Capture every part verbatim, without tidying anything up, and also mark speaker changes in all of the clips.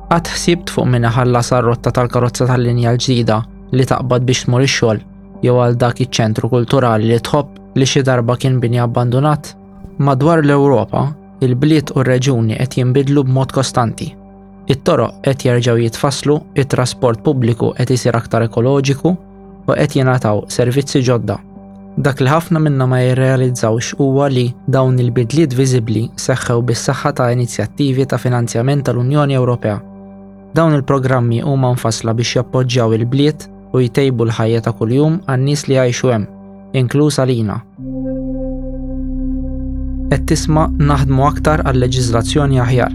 Speaker 1: Qatt ħsibt fuq min iħallas għar-rotta tal-karozza tal-linja l-ġdida li taqbad biex tmur ix-xogħol jew għal dak iċ-ċentru kulturali li tħobb li xi darba kien bini abbandunat? Madwar l-Ewropa, il-bliet u r-reġuni qed jinbidlu b'mod kostanti. It-toroq qed jerġgħu jitfasslu, it-trasport pubbliku qed isir aktar ekoloġiku u qed jingħataw servizzi ġodda. Dak li ħafna minna ma jirrealizzawx huwa li dawn il-bidliet viżibbli seħħew bis-saħħa ta' inizjattivi ta' finanzjament tal-Unjoni Ewropea. Dawn il-programmi huma mfassla biex jappoġġjaw il-bliet u jtejbu l-ħajja ta' kuljum għan-nies li jgħixu hemm, inkluż għalina. Qed tisma' naħdmu aktar għal leġiżlazzjoni aħjar.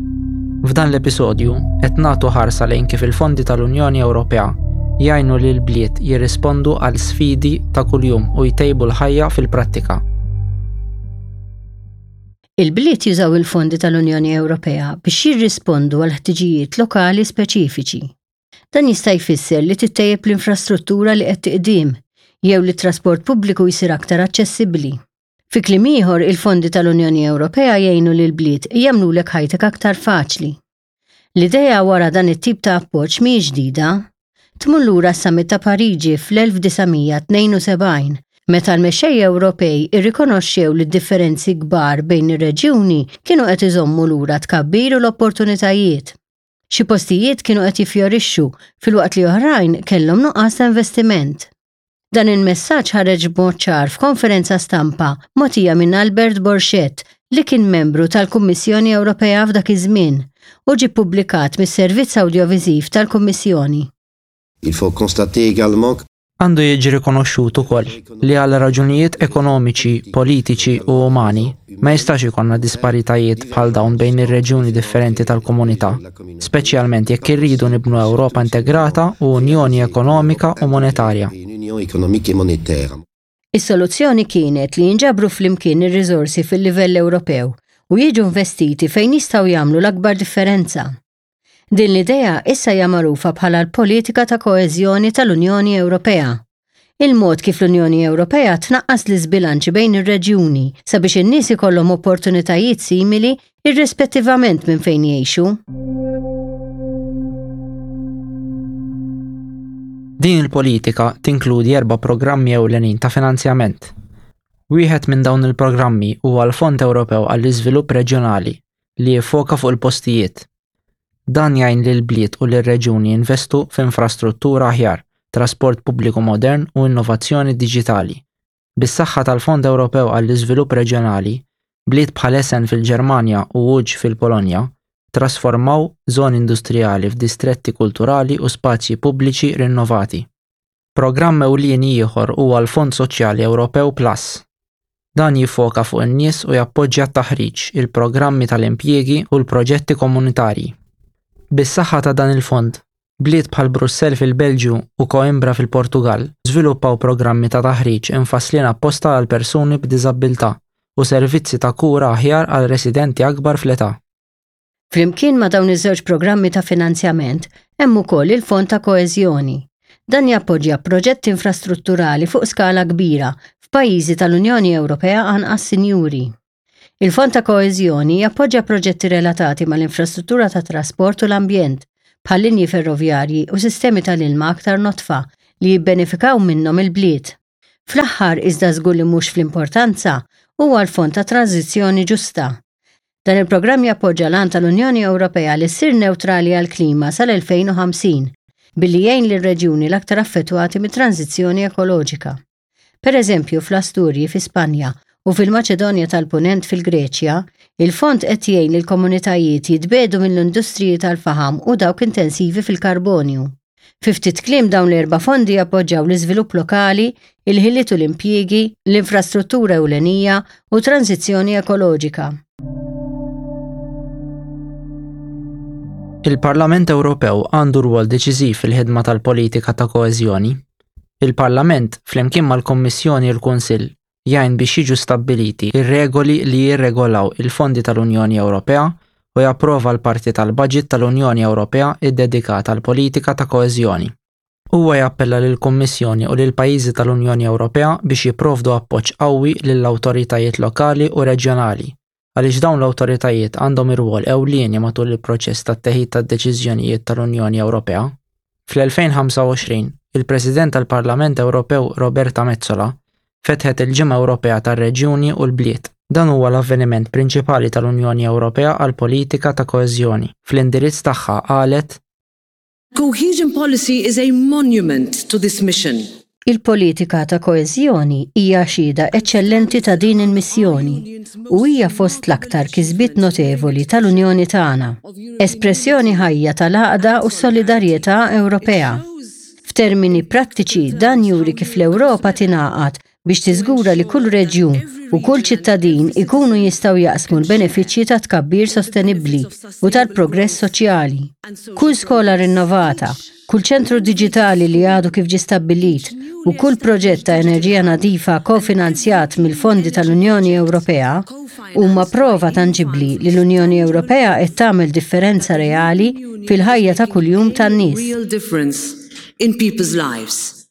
Speaker 1: F'dan l-episodju qed nagħtu ħarsa lejn kif il-fondi tal-Unjoni Ewropea jgħinu lil bliet jirrispondu għal sfidi ta' kuljum u jtejbu l-ħajja fil-prattika.
Speaker 2: Il-bliet jużaw il-fondi tal-Unjoni Ewropea biex jirrispondu għal ħtiġijiet lokali speċifiċi. Dan jista' jfisser li tittejjeb l-infrastruttura li qed tiqdim jew li t-trasport pubbliku jsir aktar aċċessibbli. Fi kliem ieħor, il-fondi tal-Unjoni Ewropea jgħinu lil bliet jagħmlulek ħajtek aktar faċli. L-idea wara dan it-tip ta' appoġġ mhijiex ġdida. Tmur lura s-Summit ta' Pariġi fl-elf disa' mija tnejn u sebgħin, meta l-mexxejja Ewropej irrikonoxxew li d-differenzi kbar bejn ir-reġjuni kienu qed iżommu lura tkabbir u l-opportunitajiet. Xi postijiet kienu qed jiffjorixxu filwaqt li oħrajn kellhom nuqqas ta' investiment. Dan il-messaġġ ħareġ b'mod ċar f'konferenza stampa mogħtija minn Albert Borschette li kien membru tal-Kummissjoni Ewropea f'dak iż-żmien u ġie ppubblikat mis-Servizz Awdjoviżiv tal-Kummissjoni.
Speaker 3: Il faut constater également que
Speaker 1: Għandu jiġi rikonoxxut ukoll li għal raġunijiet ekonomiċi, politiċi u umani ma jistax ikollna disparitajiet bħal dawn bejn ir-reġjuni differenti tal-komunità, speċjalment jekk irridu nibnu Ewropa integrata u Unjoni Ekonomika u Monetarja.
Speaker 3: Une Union économique et monétaire.
Speaker 2: Is-soluzzjoni kienet li jinġabru flimkien ir-riżorsi fil-livell Ewropew u jiġu investiti fejn jistgħu jagħmlu l-akbar differenza. Din l-idea issa hija magħrufa bħala l-politika ta' koeżjoni tal-Unjoni Ewropea. Il-mod kif l-Unjoni Ewropea tnaqqas l-iżbilanċi bejn ir-reġjuni sabiex in-nies ikollhom opportunitajiet simili irrispettivament minn fejn jgħixu.
Speaker 1: Din il-politika tinkludi erba' programmi ewlenin ta' finanzjament. Wieħed minn dawn il-programmi huwa l-Fond Ewropew għall-Iżvilupp Reġjonali li jiffoka fuq il-postijiet. Dan jgħin lil bliet u lir-reġjuni jinvestu f'infrastruttura aħjar, trasport pubbliku modern u innovazzjoni diġitali. Bis-saħħa tal-Fond Ewropew għall-Iżvilupp Reġjonali, bliet bħal Essen fil-Ġermanja u Łódź fil-Polonja trasformaw żoni industrijali f'distretti kulturali u spazji pubbliċi rinnovati. Programm ewlieni ieħor huwa l-Fond Soċjali Ewropew Plus. Dan jiffoka fuq in-nies u jappoġġja t-taħriġ, il-programmi tal-impjiegi u l-proġetti komunitarji. Bis-saħħa ta' dan il-fond, bliet bħal Brussell fil-Belġju u Coimbra fil-Portugal żviluppaw programmi ta' taħriġ infasslin apposta għal persuni b'diżabilità u servizzi ta' kura aħjar għal residenti akbar fl-età.
Speaker 2: Flimkien ma' dawn iż-żewġ programmi ta' finanzjament hemm ukoll il-Fond ta' Koeżjoni. Dan jappoġġja proġetti infrastrutturali fuq skala kbira f'pajjiżi tal-Unjoni Ewropea anqas sinjuri. Il-Fond ta' Koeżjoni jappoġġja proġetti relatati mal-infrastruttura ta' trasport u l-ambjent, bħal linji ferroviarji u sistemi tal-ilma aktar notfa li jibbenefikaw minnhom il-bliet. Fl-aħħar iżda żgur li mhux fl-importanza huwa l-Fond ta' Tranzizzjoni Ġusta. Dan il-programm jappoġġa l-għan tal-Unjoni Ewropea li ssir neutrali għall-klima sal-elfejn u ħamsin billi jgħin lir-reġjuni l-aktar affettwati mit-tranzizzjoni ekoloġika. Per eżempju, fl-Asturji fi Spanja u fil-Maċedonja tal-Punent fil-Greċja, il-fond qed jgħin lill-komunitajiet jitbedu mill-industriji tal-faħam u dawk intensivi fil-karbonju. Fi ftit kliem dawn l-erba' fondi jappoġġjaw l-iżvilupp lokali, il-ħiliet u l-impjiegi, l-infrastruttura ewlenija u tranzizzjoni ekoloġika.
Speaker 1: Il-Parlament Ewropew għandu rwol deċiżiv fil-ħidma tal-politika ta' koeżjoni. Il-Parlament, flimkien mal-Kommissjoni u l-Kunsill, jgħin biex jiġu stabbiliti ir-regoli li jirregolaw il-fondi tal-Unjoni Ewropea u japprova l-parti tal-budget tal-Unjoni Ewropea iddedikata għall-politika ta' koeżjoni. Huwa jappella lill-Kummissjoni u lill-pajjiżi tal-Unjoni Ewropea biex jipprovdu appoġġ qawwi lill-awtoritajiet lokali u reġjonali għaliex dawn l-awtoritajiet għandhom ir-rwol ewlieni matul il-proċess tat-teħid tad-deċiżjonijiet tal-Unjoni Ewropea. Fl-elfejn ħamsa u għoxrin, il-President tal-Parlament Ewropew Roberta Metsola fetħet il-Ġimgħa Ewropea tar-Reġjuni u l-Bliet. Dan huwa l-avveniment prinċipali tal-Unjoni Ewropea għal politika ta' koeżjoni. Fl-indirizz tagħha qalet:
Speaker 4: Cohesion policy is a monument to this mission.
Speaker 2: Il-politika ta' koeżjoni hija xhieda eċċellenti ta' din il-missjoni u hija fost l-aktar kisbiet notevoli tal-Unjoni tagħna, espressjoni ħajja tal-għaqda u s-solidarjetà Ewropea. F'termini prattiċi dan juri kif l-Ewropa tingħaqad biex tiżgura li kull reġjun u kull ċittadin ikunu jistgħu jaqsmu l-benefiċċji ta' tkabbir sostenibbli u tal-progress soċjali. Kull skola rinnovata, kull ċentru diġitali li għadu kif ġie stabbilit u kull proġett ta' enerġija nadifa kofinanzjat mill-fondi tal-Unjoni Ewropea huma prova tanġibbli li l-Unjoni Ewropea qed tagħmel differenza reali fil-ħajja ta' kuljum tan-nies.
Speaker 4: Real difference in people's lives.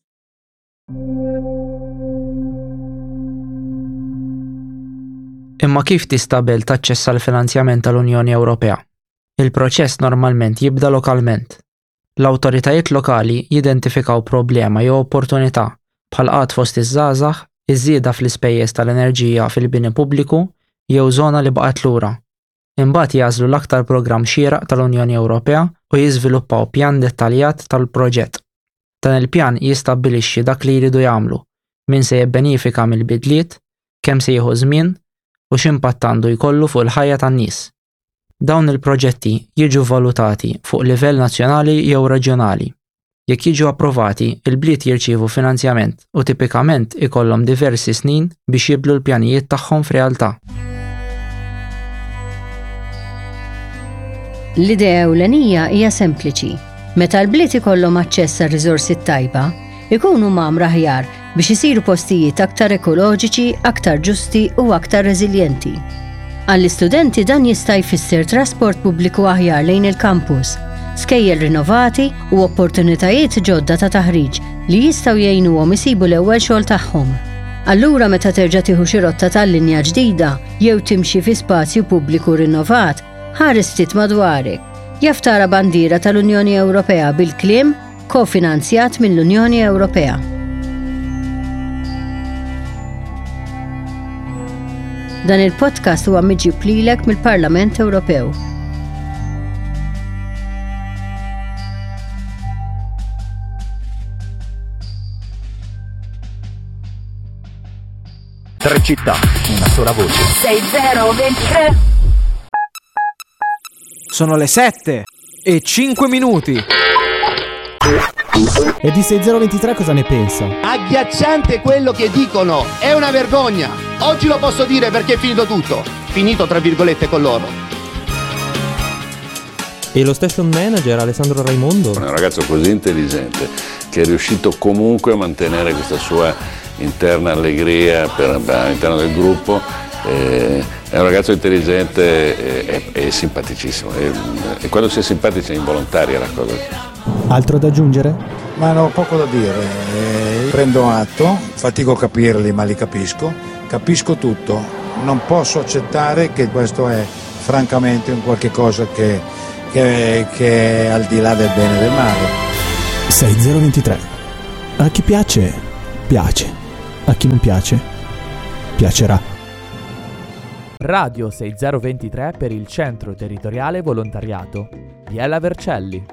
Speaker 1: Imma kif tista' belt taċċessa l-finanzjament tal-Unjoni Ewropea? Il-proċess normalment jibda lokalment. L-awtoritajiet lokali jidentifikaw problema jew opportunità bħal qgħad fost iż-żgħażagħ, iż-żieda fl-ispejjeż tal-enerġija fil-bini pubbliku jew żona li baqgħet lura. Imbagħad jagħżlu l-aktar programm xieraq tal-Unjoni Ewropea u jiżviluppaw pjan dettaljat tal-proġett. Dan il-pjan jistabbilixxi dak li jridu jagħmlu, min se jibbenifika mill-bidliet, kemm se jieħu żmien u x'impatt għandu jkollu fuq il-ħajja tan-nies. Dawn il-proġetti jiġu valutati fuq livell nazzjonali jew reġjonali. Jekk jiġu approvati, il-bliet jirċievu finanzjament u tipikament ikollhom diversi snin biex jibdlu l-pjanijiet tagħhom f'realtà.
Speaker 2: L-idea ewlenija hija sempliċi. Meta l-bliet ikollhom aċċess għar-riżorsi tajba, ikunu mgħammra aħjar biex isiru postijiet aktar ekoloġiċi, aktar ġusti u aktar reżiljenti. Għall-istudenti dan jista' jfisser trasport pubbliku aħjar lejn il-kampus, skejjel rinnovati u opportunitajiet ġodda ta' taħriġ li jistgħu jgħinuhom isibu l-ewwel xogħol tagħhom. Allura meta terġa' tieħu xi rotta tal-linja ġdida jew timxi fi spazju pubbliku rinnovat, ħares ftit madwarek. Jaf tara bandiera tal-Unjoni Ewropea bil-kliem kofinanzjat mill-Unjoni Ewropea. Dan il-podcast huwa miġjub lilek mill-Parlament Ewropew.
Speaker 5: Tre città, una sola voce.
Speaker 6: sei zero ventitré.
Speaker 7: Sono le sette e cinque minuti.
Speaker 8: E di sei zero ventitré cosa ne pensa?
Speaker 9: Agghiacciante quello che dicono, è una vergogna. Oggi lo posso dire perché è finito tutto. Finito tra virgolette con loro.
Speaker 10: E lo station manager Alessandro Raimondo?
Speaker 11: È un ragazzo così intelligente che è riuscito comunque a mantenere questa sua interna allegria per, all'interno del gruppo. Eh, è un ragazzo intelligente e, e, e simpaticissimo. E, e quando si è simpatici è involontaria la cosa.
Speaker 8: Altro da aggiungere?
Speaker 12: Ma no, poco da dire. Eh, prendo atto, fatico a capirli ma li capisco. Capisco tutto. Non posso accettare che questo è francamente un qualche cosa che, che, che è al di là del bene e del male.
Speaker 8: sei zero ventitré. A chi piace, piace. A chi non piace, piacerà.
Speaker 13: Radio sei zero ventitré per il Centro Territoriale Volontariato Biella Vercelli.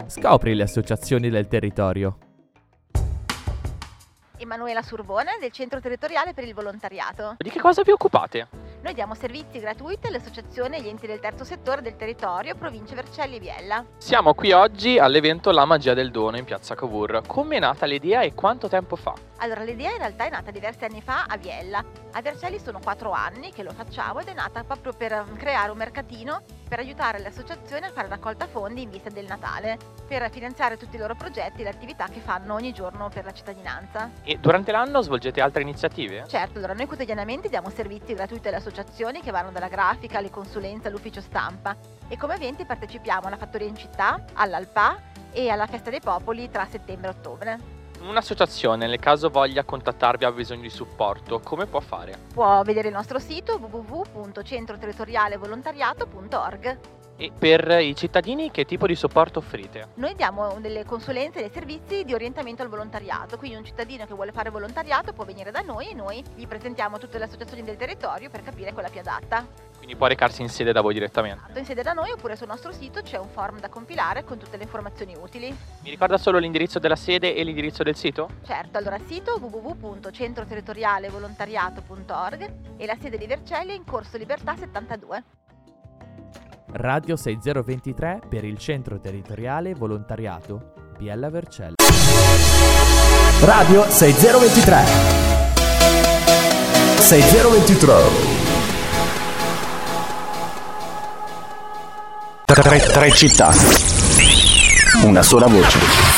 Speaker 13: Scopri le associazioni del territorio.
Speaker 14: Emanuela Surbone del Centro Territoriale per il Volontariato.
Speaker 15: Di che cosa vi occupate?
Speaker 14: Noi diamo servizi gratuiti alle associazioni e agli enti del terzo settore del territorio, provincia Vercelli e Biella.
Speaker 15: Siamo qui oggi all'evento La Magia del Dono in piazza Cavour. Come è nata l'idea e quanto tempo fa?
Speaker 14: Allora, l'idea in realtà è nata diversi anni fa a Biella. A Vercelli sono quattro anni che lo facciamo ed è nata proprio per creare un mercatino per aiutare le associazioni a fare raccolta fondi in vista del Natale, per finanziare tutti i loro progetti e le attività che fanno ogni giorno per la cittadinanza.
Speaker 15: E durante l'anno svolgete altre iniziative?
Speaker 14: Certo, allora noi quotidianamente diamo servizi gratuiti alle associazioni che vanno dalla grafica alle consulenze all'ufficio stampa e come eventi partecipiamo alla Fattoria in Città, all'Alpa e alla Festa dei Popoli tra settembre e ottobre.
Speaker 15: Un'associazione, nel caso voglia contattarvi, ha bisogno di supporto, come può fare?
Speaker 14: Può vedere il nostro sito w w w punto centro territoriale volontariato punto org.
Speaker 15: E per i cittadini che tipo di supporto offrite?
Speaker 14: Noi diamo delle consulenze e dei servizi di orientamento al volontariato, quindi un cittadino che vuole fare volontariato può venire da noi e noi gli presentiamo tutte le associazioni del territorio per capire quella più adatta.
Speaker 15: Quindi può recarsi in sede da voi direttamente?
Speaker 14: Esatto, in sede da noi oppure sul nostro sito c'è un form da compilare con tutte le informazioni utili.
Speaker 15: Mi ricorda solo l'indirizzo della sede e l'indirizzo del sito?
Speaker 14: Certo, allora sito w w w punto centro territoriale volontariato punto org e la sede di Vercelli è in Corso Libertà settantadue.
Speaker 13: Radio sei zero ventitré per il Centro Territoriale Volontariato Biella Vercelli.
Speaker 5: Radio sei zero ventitré. sei zero ventitré. Tre, tre città. Una sola voce.